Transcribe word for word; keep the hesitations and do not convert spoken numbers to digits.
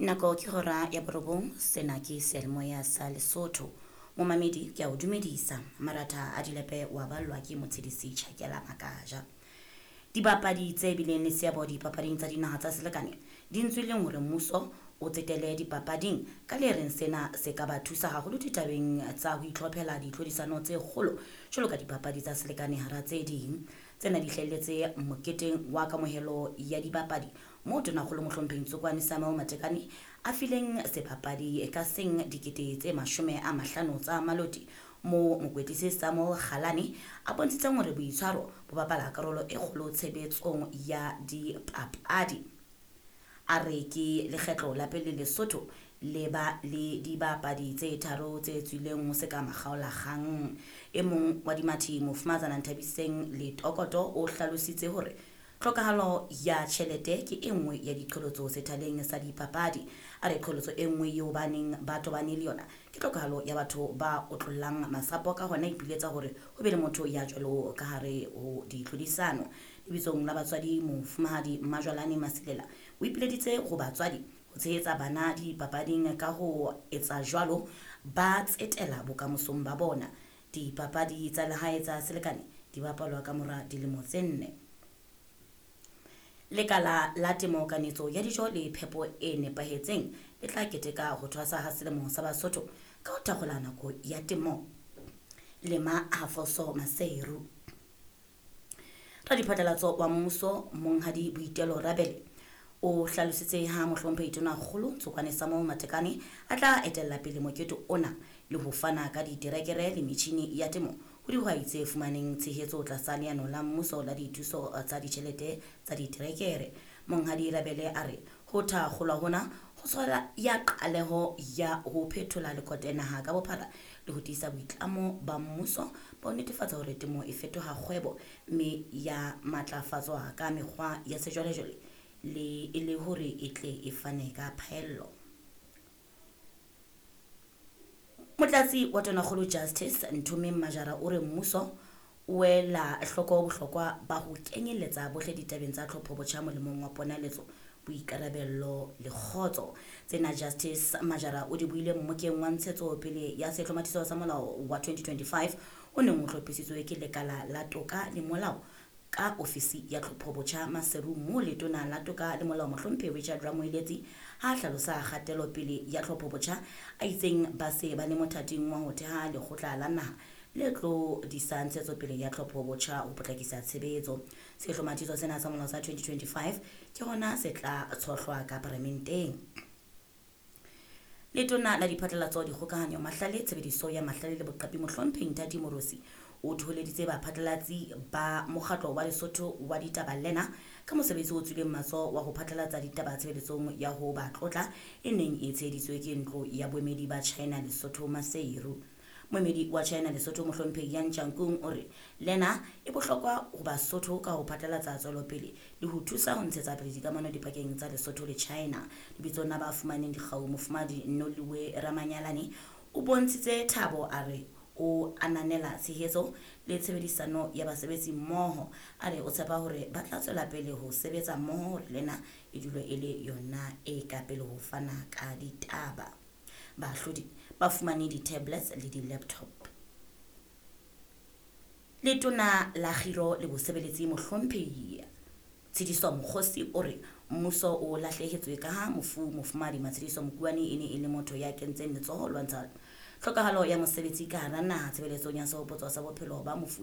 Nako ke hora ya borobong, sena ke seyalemoya sa Lesotho. Momamedi ke a o dumedisa. Maratha a dilepe wa ballwa ke Motshedisi Tjhakela Makaja. Dibapadi tse bileng le seabo dipapading tsa dinaha tsa selekane di ntswileng hore mmuso o tsetele dipapading ka le reng sena se ka ba thusa haholo ditabeng tsa ho itlhophela ditlhodisano tse kgolo jwalo ka dipapadi tsa selekane hara tse ding. Tsena di hlahelletse moketeng wa kamohelo ya dibapadi moo Tonakgolo Mohlomphehi Ntsokoane Samuel Matekane a fileng sebapadi ka seng dikete tse mashome a mahlano tsa maloti, moo mokwetlisi Samuel Kgalane a bontshitseng hore boitshwaro bo bapala karolo e kgolo tshebetsong ya dipapadi. A re ke lekgetlo la pele Lesotho le ba le dibapadi tse tharo tse tswileng ho se ka makgaolakgang. E mong wa dimathi Mofumahatsana Nthabiseng Letokoto o hlalositse hore tlhokahalo ya tjhelete ke e nngwe ya diqholotso sethaleng sa dipapadi. A re qholotso e nngwe eo ba neng ba tobane le yona ke tlhokahalo ya batho ba otlollang masapo, ka hona ipiletsa hore ho be le motho ya jwalo ka hare ho ditlhodisano. Lebitsong la batswadi Mofumahadi Mmajwalane Masilela o ipileditse ho batswadi ho tshehetsa bana dipapading ka ho etsa jwalo ba tsetela bokamosong ba bona. Dipapadi tsa lehae tsa selekane di bapalwa ka mora dilemo tse nne. Lekala la temo, kanetso ya dijo le phepo e nepahetseng le tla keteka ho thwasa ha selemo sa Basotho ka ho thakgola nako ya temo. Lema Hafoso Maseru. Radiphatlalatso wa mmuso Monghadi Boitelo Rabele o hlalositse ha Mohlomphehi Tonakgolo Ntsokoane Samuel Matekane a tla etella pele mokete ona le ho fana ka diterekere le metjhini ya temo ho dihwai tse fumaneng tshehetso tlasa leano la mmuso la dithuso tsa ditjhelete tsa diterekere. Monghadi Rabele a re ho thakgolwa hona ho tshwara ya qaleho ya ho phethola lekote naha ka bophara le ho tiisa boitlamo ba mmuso ba ho netefatsa hore temo e fetoha kgwebo mme ya matlafatswa ka mekgwa ya sejwalejwale le e le hore e tle e fane ka phaello. Motlatsi wa Tonakgolo Justice Nthomeng Majara o re mmuso o ela hloko bohlokwa ba ho kenyelletsa bohle ditabeng tsa tlhopho botjha molemong wa ponaletso, boikarabello le kgotso. Tsena Justice Majara o di buile mmokeng wa ntshetsopele ya sehlomathiso sa molao wa twenty twenty-five o neng o hlophisitswe ke Lekala la Toka le Molao ka ofisi ya tlhopho botjha Maseru, moo Letona la Toka le Molao Mohlomphehi Richard Ramoeletsi ha hlalosa kgatelopele ya tlhopho botjha a itseng ba se ba le mothating wa ho theha lekgotla la naha le tlo disa ntshetsopele ya tlhopho botjha ho potlakisa tshebetso. Sehlomathiso sena sa molao sa twenty twenty-five ke hona se tla tshohlwa ka paramenteng. Letona la Diphatlalatso, Dikgokahanyo, Mahlale, Tshebediso ya Mahlale le Boqapi Mohlomphehi Nthati Moorosi o thoholeditse baphatlalatsi ba mokgatlo wa Lesotho wa ditaba lena ka mosebetsi o tswileng matsoho wa ho phatlalatsa ditaba tshebeletsong ya ho ba tlotla e neng e tsheheditswe ke ntlo ya boemedi ba China Lesotho Maseru. Moemedi wa China Lesotho Mohlomphehi Yan Changkung o re lena e bohlokwa ho Basotho ka ho phatlalatsa tswelopele le ho thusa ho ntshetsa pele dikamano dipakeng tsa Lesotho le China. Lebitsong la ba fumaneng dikgau Mofumahadi Noliwe Ramanyalane o bontshitse thabo a re o ananela tshehetso le tshebedisano ya basebetsi mmoho. A re o tshepa hore ba tla tswela pele ho sebetsa mmoho hore lena e dule e le yona e ka pele ho fana ka ditaba. Baahlodi ba fumane di-tablets le di-laptop. Letona la Kgiro le Bosebeletsi Mohlomphehi Tshediso Mokgosi o re mmuso o lahlehetswe ka ha mofu Mofumahadi Matshediso Mokuane e ne e le motho ya kentseng letsoho lwantsha tlhokahalo ya mosebetsi ka hara naha tshebeletsong ya sehopotso sa bophelo ba mofu